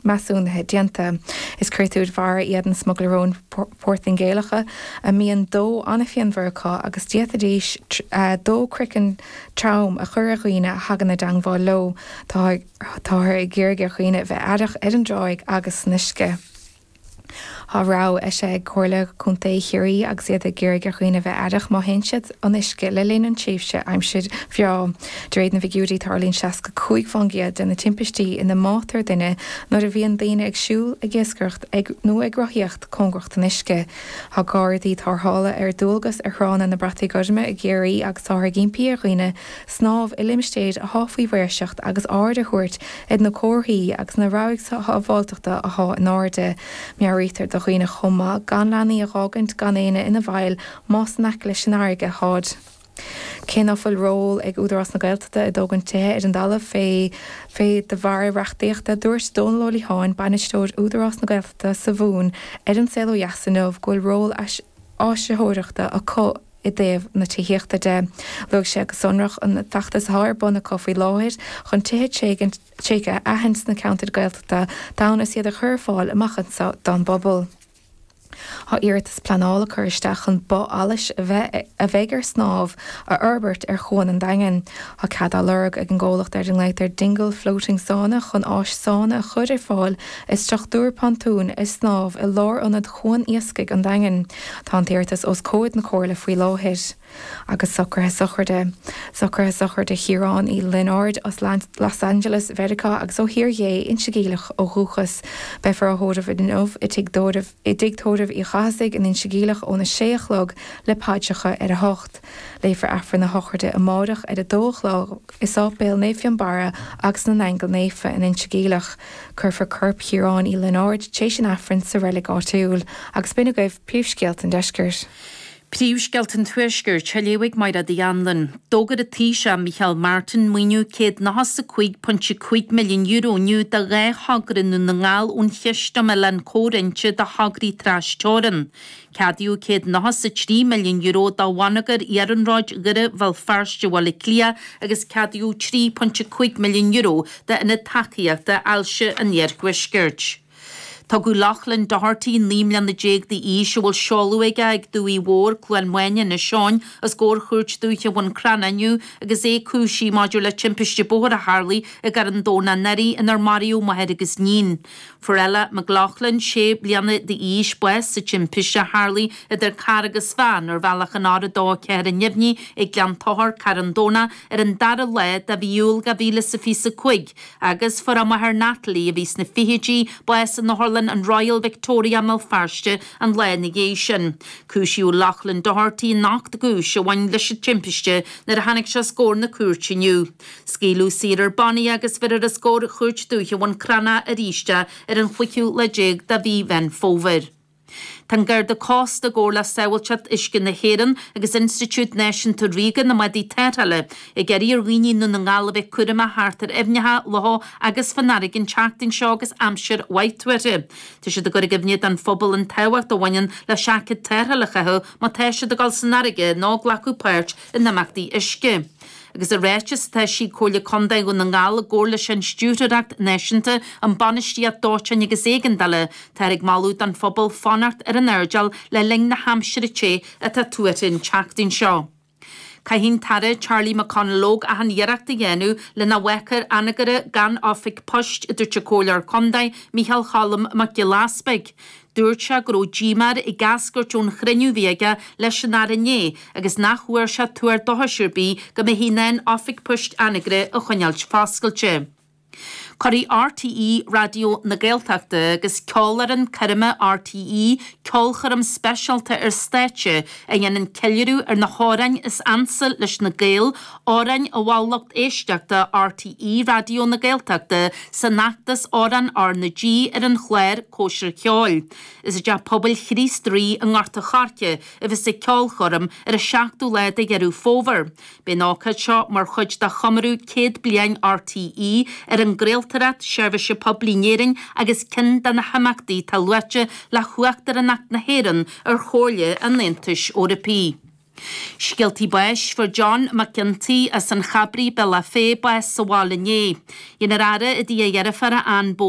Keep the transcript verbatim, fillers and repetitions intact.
measúnaithe déanta. Is créatúir mhara iad na smugairle róin Portaingéalacha a mbíonn dó an-phianmhar acu agus d'fhéadfaidís dó craiceann trom a chur ar dhaoine a thagann i dteangmháil leo. Táthar ag iarraidh ar dhaoine a bheith aireach ar an dtráigh agus san uisce. Tá rabhadh eisithe ag Comhairle Contae Chiarraí agus iad ag iarraidh ar dhaoine bheith aireach má théann siad an uisce le linn an tréimhse aimsir bhreá. De réir na bhfigiúirí tarlaíonn seasca cúig faoin gcéad de na timpistí ina mbáitear duine nuair a bhíonn daoine ag siúl, ag iascaireacht ag nó ag rothaíocht cóngarach don uisce. Tá gardaí tarrthála ar dualgas ar thránna na Brataí Goirme i gCiarraí agus táthar ag impí ar dhaoine snámh i limistéir atá faoi mhaoirseacht agus aird a thabhairt ar na comharthaí agus na rabhaidh sábháilteachta atá in airde. Meabhraítear do dhaoine chomh maith gan leanaí a fhágaint gan éinne ina bhfeighil más in aice leis an fharraige atáid. Cé ná fuil ról ag Údarás na Gaeltachta i dtógaint tithe ar an dtalamh fé fé de bharr reachtaíochta dúirt Dónal Ó Liatháin bainisteoir Údarás na Gaeltachta sa Mhumhain ar an Saol Ó Dheas inniu go bhfuil ról áisitheoireachta acu i dtaobh na tithíochta de. Luaigh sé go sonrach an feachtas atá ar bun acu faoi láthair chun tithe tréigthe a aithint sna ceantair Gaeltachta d'fhonn is iad a chur ar fáil amach anseo don bpobal. Tá iarratas pleanála curtha isteach chun both allais a bheith a bheidh ar snámh a fhorbairt ar Chuan an Daingin. Tá cead á lorg ag an gcomhlacht ar a nglaotar Dingle Floating Sauna chun áis sána a chur ar fáil i struchtúr pontúin ar snámh i lárionad Chuan Iascaigh an Daingin. Tá an t-iarratas os comhair na Comhairle faoi láthair. Agus socruithe sochraide. Socruithe sochraide Chiaráin Uí Lionáird as Los Angeles, Mheiriceá agus ó Thír Dhé Inse Geimhleach ó dhúchas. Beifear á thórramh inniu i dtigh tórraimh Uí Chathasaigh in Inse Geimhleach óna sé a chlog le paidreacha ar a hocht. Léifear Aifreann na sochraide amárach ar a dó a chlog i Sáipéal Naomh Fionnbarra agus na nAingeal Naofa in Inse Geimhleach. Cuirfear corp Chiaráin Uí Lionáird tar éis an Aifrinn sa reilig áitiúil, agus b'in agaibh príomhscéalta an deiscirt. Príomhscéalta an Tuaiscirt, á léamh ag Máire Uí Anluain. D'fhógair an Taoiseach Micheál Martin maoiniú céad nócha is a cúig pointe cúig milliún euro inniu do dhá thogra i nDún na nGall ón Chiste um Oileáin Comhroinnte do thograí trasteorann. Ceadaíodh céad nócha is a trí milliún euro do bhonneagar iarnróid Dhoire Bhéal Feirste Bhaile Átha Cliath agus ceadaíodh trí pointe cúig milliún euro d'Ionad Tacaíochta Ailse an Iarthuaiscirt. Tugadh Loughlin Doherty, naoi mbliana déag d'aois, a bhfuil seoladh aige ag Dumhaigh Mhór, Cluain Mháine, Inis Eoghain, os comhair Chúirt Dúiche Bhun Cranncha inniu agus é cúisithe maidir le timpiste bóthair a tharlaigh i gCarn Domhnach anuraidh inar maraíodh máthair agus níon. Fuair Ella McLaughlin, sé bliana d'aois, bás sa timpiste a tharlaigh idir carr agus veain ar bhealach an R a dó ceathair i nDuibhní ag Gleann Tóchair, Carn Domhnach, ar an dara lá de mhí Iúil dhá mhíle is a fiche a cúig. Agus fuair a máthair Natalie, a bhí sna fichidí, bás in otharlann an Royal Victoria i mBéal Feirste an lá ina dhiaidh sin. Cúisíodh Loughlin Doherty in ocht gcúis a bhain leis an timpiste nuair a tháinig sé os comhair na cúirte inniu. Scaoileadh saor ar bannaí agus bhéarfar os comhair Chúirt Dúiche Bhun Cranncha arís é ar an chúigiú lá déag de mhí Mheán Fómhair. Tá an Garda Cósta i gcomhar le Sábháilteacht Uisce na hÉireann agus Institiúid Náisiúnta Ríoga na mBádaí Tarrthála ag iarraidh ar dhaoine i nDún na nGall a bheith cúramach thart ar aibhneacha, locha agus fán fharraige an tseachtain seo agus aimsir mhaith tuartha. Tá siad ag cur i gcuimhne don phobal an tábhacht a bhaineann le seaicéad tarrthála a chaitheamh má tá siad ag dul san fharraige nó ag glacadh páirt in imeachtaí uisce. Agus i ráiteas atá eisithe ag Comhairle Contae Dhún na nGall i gcomhar leis an Stiúrthóireacht Náisiúnta um Bainistíocht Dóiteáin agus Éigeandála, táthar ag moladh don phobal fanacht ar an airdeall le linn na haimsire te atá tuartha an tseachtain seo. Caithfidh an tAire Charlie McConalogue achan iarracht a dhéanamh le nach bhfágfar Anagaire gan oifig poist, a dúirt an Comhairleoir Contae Micheál Cholm Mac Giolla Easpaig. Dúirt sé go raibh díomá air ag eascairt ón chruinniú a bhí aige leis an Aire inné agus nach bhfuair sé tuar dóchais ar bith go mbeifí in ann Oifig Poist Anagaire a choinneáilt foscailte. Cuirfidh RTÉ Raidió na Gaeltachta agus Ceolfhoireann Coirme RTÉ ceolchoirm speisialta ar stáitse a dhéanann ceiliúradh ar na hamhráin is ansa leis na Gaeil, amhráin a mhol lucht éisteachta RTÉ Raidió na Gaeltachta san fheachtas Amhrán R na G ar an chlár Cóisir Cheoil. Is i dTeach Pobail Chríost Rí i nGort a' Choirce a bheas an ceolchoirm ar an seachtú lá de Dheireadh Fómhair. Beidh an ócáid seo mar chuid de chomóradh céad bliain RTÉ ar an gcraoltóireacht seirbhíse poiblí in Éirinn agus ceann de na himeachtaí atá luaite le hUachtaránacht na hÉireann ar Chomhairle an Aontais Eorpaigh. Scéaltaí báis, Fuair John Mac Ginty as an Chabraigh, Bealach Féich, bás sa bhaile inné. Dhein a fhaire i dtigh a dheirféara Ann Bowen,